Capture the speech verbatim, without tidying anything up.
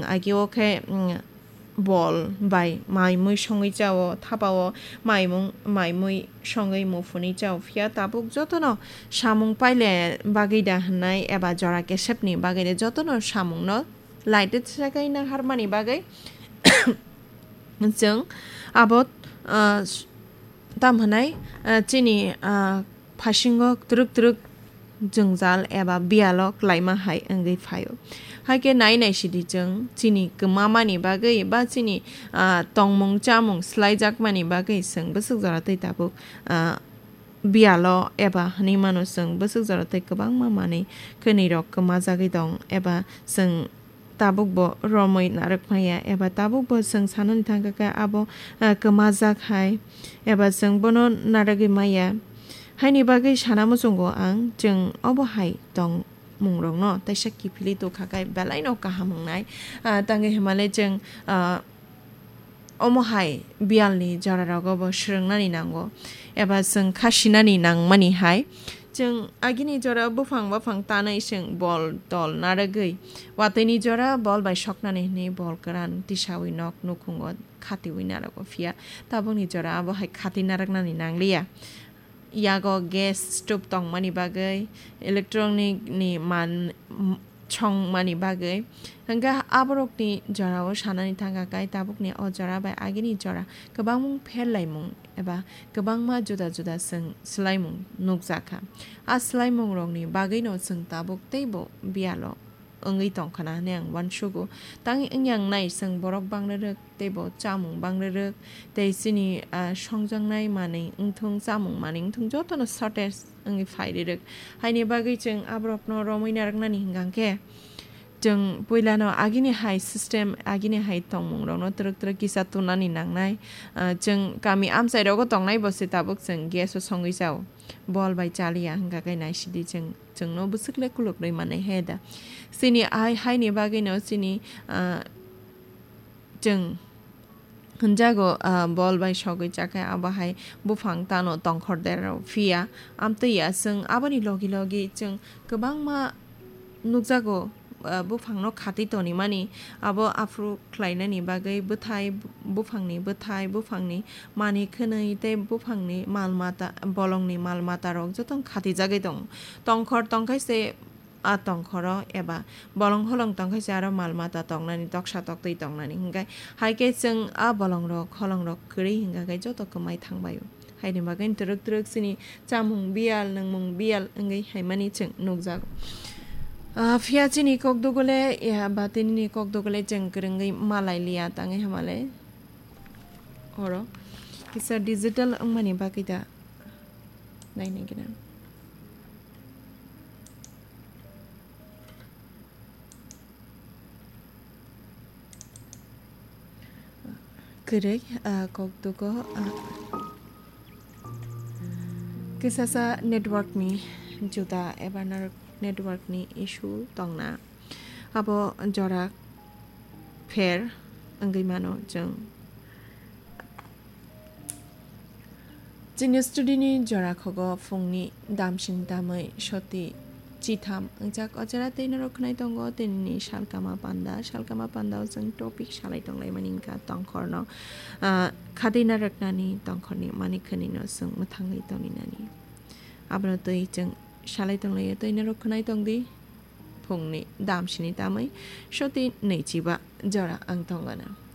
agi o khe, mm, bol bai mai mui songwi chao, thapa o mai mung, mai mui songwi muphunwi chao. Phiya tabuk jotono samung paile bagwi da hwnwi eba jora kesepni bagwi de jotono samungno laitwi sakai nang harmani bagwi chwng abo, ah, s-, tam hwnwi, ah, chini, ah, phasingo twrwk twrwk jwngjal eba biyalo klaima hai wngwi phaio. Hai khe nai nai sidi chwng chini kwmamani bagwi ba chini, ah, tongmung chamung swlaijakmani bagwi chwng bwswk jora tei tabuk, ah, biyalo eba hwnwi mano chwng bwswk jora tei kwbangma manwi khwnwi rok kwmajagwi tong eba chwng tabuk bo romwi narwk maya eba tabuk bo chwng sanani thangkha khe abo, ah, kwmajak hai eba chwng bono narwgwi maya. Haini bagwi sana muchungo ang chwng obo hai tongmungrokno teisa kiphilwi tukha khe belaino kaham wngnai. Ah, tangwi hwnmale chwng, ah, omo hai biyalni jorarogo bo swrwngnani nango eba chwng kha sinani nangmani hai. Chwng agini jora buphang baphang tanwi chwng bol tol narwgwi, watwini jora bol bai soknani hwnwi bol kwran tisawi nok nukhungo khatiwi narwgo, phiya tabukni jora abo hai khati narwknani nangliya. Yago gas stove tongmani bagwi, electronic ni man, m-, chongmani bagwi. Hwnkhe aborokni jorao sanani thangkha khe tabukni o jora bai agini jora kwbangmung pherlaimung eba kwbangma juda juda chwng swlaimung nukjakha. A swlaimungrokni bagwino chwng tabuk teibo biyalo wngwi tongkhana hwnwi ang uansugo. Tangwi wngya wngnai chwng borok bangrirwk teibo chamung bangrirwk tei chini, ah, songjaknai manwi wngthung, chamung manwi wngthung jotono shortage wngwi phairirwk. Haini bagwi chwng aborokno romwi narwknani hwnkha khe chwng puilano agini hai system, agini hai tongmungrokno twrwk twrwk kisa tunani nangnai. Ah, chwng kami amchairogo tongnai bo se tabuk chwng gas o songwi chao. Bol bai chaliya hwnkha khe naisidi chwng. Chwngno bwswk le kuluknwi manwi he da. Chini ai haini bagwino chini, ah, chwng hwnjago, ah, bol bai sogwi chakhe abo hai buphang tano tongkhor derao phiya. Amtwi ya chwng aboni logi logi chwng kwbangma nukjago, ah, buphangno khatwi tonimani. Abo aphuru khlainani bagwi bwthai, buphangni bwthai, buphangni manwi khwnwi tei buphangni mal mata, bolongni mal matarok joto khatijagwi tongo. Tongkhor tongkhe se a tongkhoro eba bolong holong tongkhe se aro mal mata tongnani, toksa toktwi tongnani. Hwnkhe hai khe chwng a bolongrok holongrok kwrwi hwnkha khe joto kwmai thangbaio. Haini bagwi twrwk twrwk chini chamung biyal, nwngmung biyal wngwi haimani chwng nukjago. Ah, phiya chini kok dugule, ya, ba tinini kok dugule chwng kwrwngwi malai liya tangwi hamale. Oro kisa digital wngmani bagwi da nainai gwnang. Kwrwi, ah, kok dugo, ah, kisasa network ni juda eba network ni issue tongna. Abo jora pher wngwi mano chwng. Chini study ni jora khogo phungni damsini tamwi soti chitham wngjak o jora tei norok khwnai tongo tinini salkama panda. Salkama panda o chwng topic salai tonglaimani wngkha tongkhorno, ah, khatwi narwknani tongkhorni manwi khwnwino chwng mwthangwi tongninani. Abono twi chwng salai tonglaio tei norok khwnai tongdi. Phungni damsini tamwi soti nwichiba jora ang tongana.